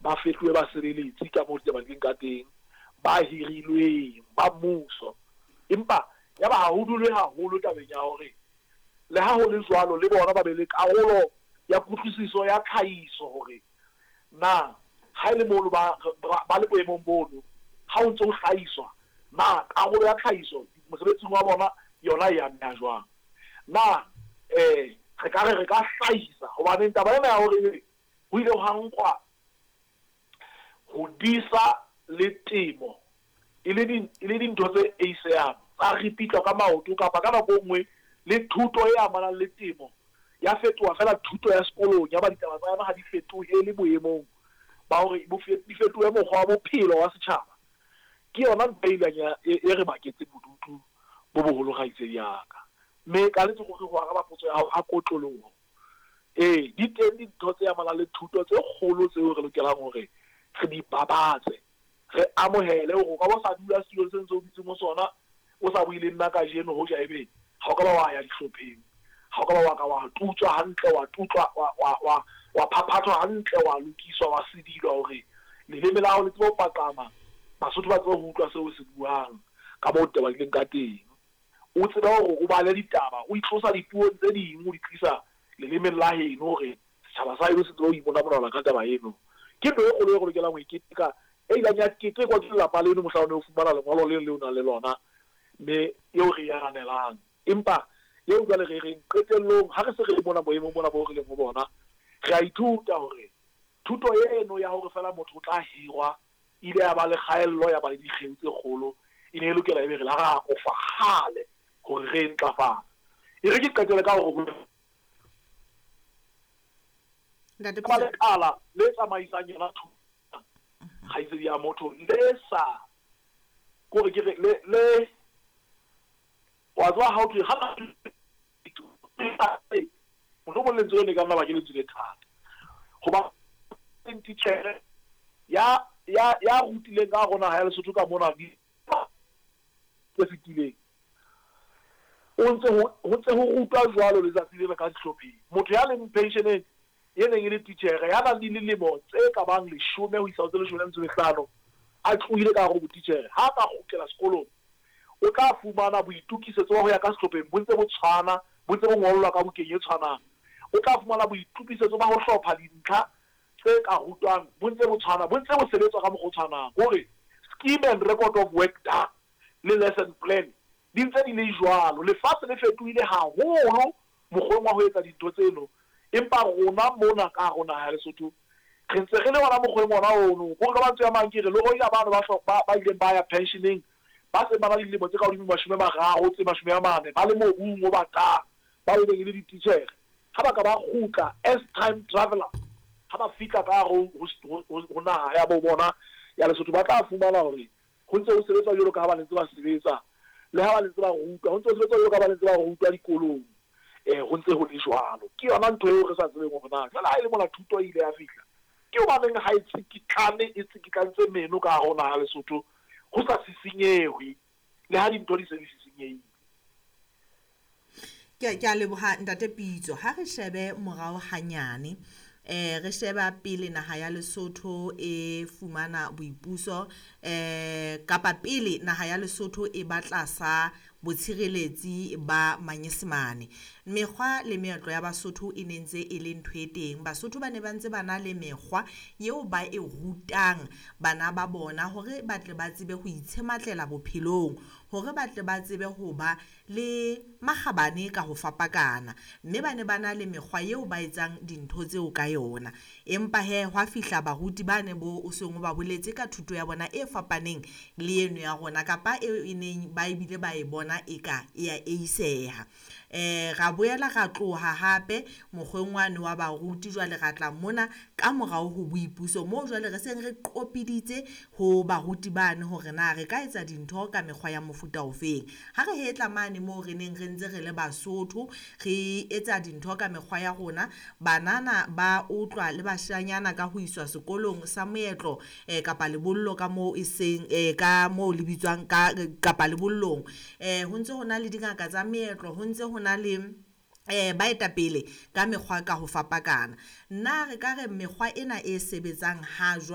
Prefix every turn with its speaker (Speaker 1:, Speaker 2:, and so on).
Speaker 1: Ba fetohe basebeletsi ka moo ditaba di leng ka teng, ba hirilweng ba mmuso. Empa yaba ha ho dulwe haholo tabeng ya hore le ha ho le jwalo le bona ba be le karolo ya kutlwisiso ya tlhahiso hore na ha e le mono ba, ba le boemong bono, ha ho ntse ho hlahiswa, na karolo ya tlhahiso mosebetsing wa bona yona e ameha jwang. Na re ka re re ka hlahisa, hobaneng taba ena ya hore ebe ho ile hwa nkwa ho disa le temo e le di, e le dintho tse eisehang, tsa ripitlwa ka maoto, kapa ka nako e nngwe le thuto e amanang le temo ya fetoha feela thuto ya sekolong, yaba ditaba tsa yona ha di fetohele boemong ba hore bo di fetohe mokgwa wa bophelo wa setjhaba. Ke yona ntho e ileng ya, e, e re baketseng bodutu bo boholo, kgaitsedi ya ka. Mme ka nnete ruri ho araba potso ya hao ka kotloloho, ee, di teng dintho tse amanang le thuto tse kgolo tseo re lokelang hore re di babatse, re amohele hore o ka ba o sa dula setulong se ntse o dutseng ho sona, o sa bue le nna kajeno, hoja ebe ha o ka ba wa ya dihlopheng, ha o ka ba wa ka wa tutswa hantle, wa tutlwa, wa, wa, wa, wa phaphathwa hantle, wa lokiswa, wa sedilwa hore leleme la hao le tsebe ho paqama, Basotho ba tsebe ho utlwa seo o se buang, ka moo ditaba di leng ka teng. O tsebe hore o bale ditaba, o itlosa dipuong tse ding, o di tlisa lelemeng la heno hore setjhaba sa heno se tsebe ho imonamonana ka taba eno. Ke ntho e kgolo e re lokelang ho e keteka, e ileng ya ketekwa ke lelapa leno mohla o ne o fumana lengolo leno leo o nang le lona, mme eo re e ananelang. Empa eo jwale re reng qetellong, ha re se re le mona boemong bona boo re leng ho bona, re a ithuta hore thuto eno ya hore feela motho o tla hirwa e ile ya ba le kgaello, ya ba le dikgeo tse kgolo. E ne e lokela ebe re la ra akofa kgale hore re e ntlafatse. E re ke qetele ka hore ho
Speaker 2: Ntate
Speaker 1: ba
Speaker 2: Pitso.
Speaker 1: lekala le tsamaisang yona thuto, kgaitsedi ya motho, le sa, ke hore ke re, le, le, wa tseba ha ho thwe, ha mohlomong lentswe leno e ka nna ba ke lentswe le thata, hoba titjhere ya, ya, ya rutileng ka hare ho naha ya Lesotho ka mona di tse fetileng, o ntse ho, ho ntse ho rutwa jwalo letsatsi lena ka dihlopheng. Motho ya leng pensioneng e neng e le titjhere, ya nang le dilemo tse ka bang 10 ho isa ho tse 15, a tlohile ka hare ho botitjhere, ha a ka kgutlela sekolong, o tla fumana boitokisetso ba ho ya ka sehlopheng bo ntse bo tshwana, bo ntse bo ngollwa ka bukeng e tshwanang. O tla fumana boitokisetso ba ho hlopha dintlha tse ka rutwang bo ntse bo tshwana, bo ntse bo sebetswa ka mokgwa o tshwanang. Ke hore scheme and record of work done le lesson plan di ntse di le jwalo. Lefatshe le fetohile haholo mokgweng wa ho etsa dintho tseno, empa rona mona ka hare ho naha ya Lesotho re ntse re le hona mokgweng ona ono. Ke hore ka mantswe a mang ke re le hoja bano ba ba, ba ileng ba ya pensioneng ba seng ba na le dilemo tse ka hodimo 30 tse 40 ba le mobung o batang, bao e neng e le dititjhere, ha ba ka ba kgutla as time traveller, ha ba fihla ka hare ho, ho, ho, ho naha ya bo bona ya Lesotho, ba tla fumana hore ho ntse ho sebetswa jwalo ka ha ba ne ntse ba sebetsa, le ha ba ne ntse ba rutwa, ho ntse ho sebetswa jwalo ka ha ba ne ntse ba rutwa dikolong, ho ntse ho le jwalo. Ke yona ntho eo re sa tsebeng hore na jwale ha e le mona thuto e ile ya fihla, ke hobaneng ha e tsikitlane, e tsikitlantse meno ka hare ho naha ya Lesotho, ho sa sisinyehwe, le ha dintho di se di sisinyehile.
Speaker 2: Ke, ke a leboha Ntate Pitso. Ha re shebe morao hanyane, re sheba pele naha ya Lesotho e fumana boipuso, kapa pele naha ya Lesotho e ba tlasa botshireletsi ba Manyesemane. Mekgwa le meetlo ya Basotho e ne ntse e le ntho e teng. Basotho ba ne ba ntse ba na le mekgwa eo ba e rutang bana ba bona hore ba tle ba tsebe ho itshematlela bophelong, hore ba tle ba tsebe ho ba le makgabane ka ho fapakana. Mme ba ne ba na le mekgwa eo ba etsang dintho tseo ka yona. Empa he, hwa fihla baruti ba ne bo o seng o ba boletse ka thuto ya bona e fapaneng le eno ya rona, kapa eo e neng ba ebile ba e bona eka e a eiseha. Ra boela ra tloha hape mokgweng wane wa baruti, jwale ra tla mona ka morao ho boipuso, moo jwale re seng re qopiditse ho baruti bane hore na re ka etsa dintho ka mekgwa ya mofuta ofeng. Ha re hetla mane moo re neng re ntse re le Basotho, re etsa dintho ka mekgwa ya rona, banana ba utlwa le bashanyana ka ho iswa sekolong sa moetlo, kapa lebollo ka moo e seng, ka moo le bitswang ka, kapa lebollong. Ho ntse ho na le dingaka tsa meetlo, ho ntse ho na le baetapele ka mekgwa ka ho fapakana. Na re ka re mekgwa ena e sebetsang ha jwale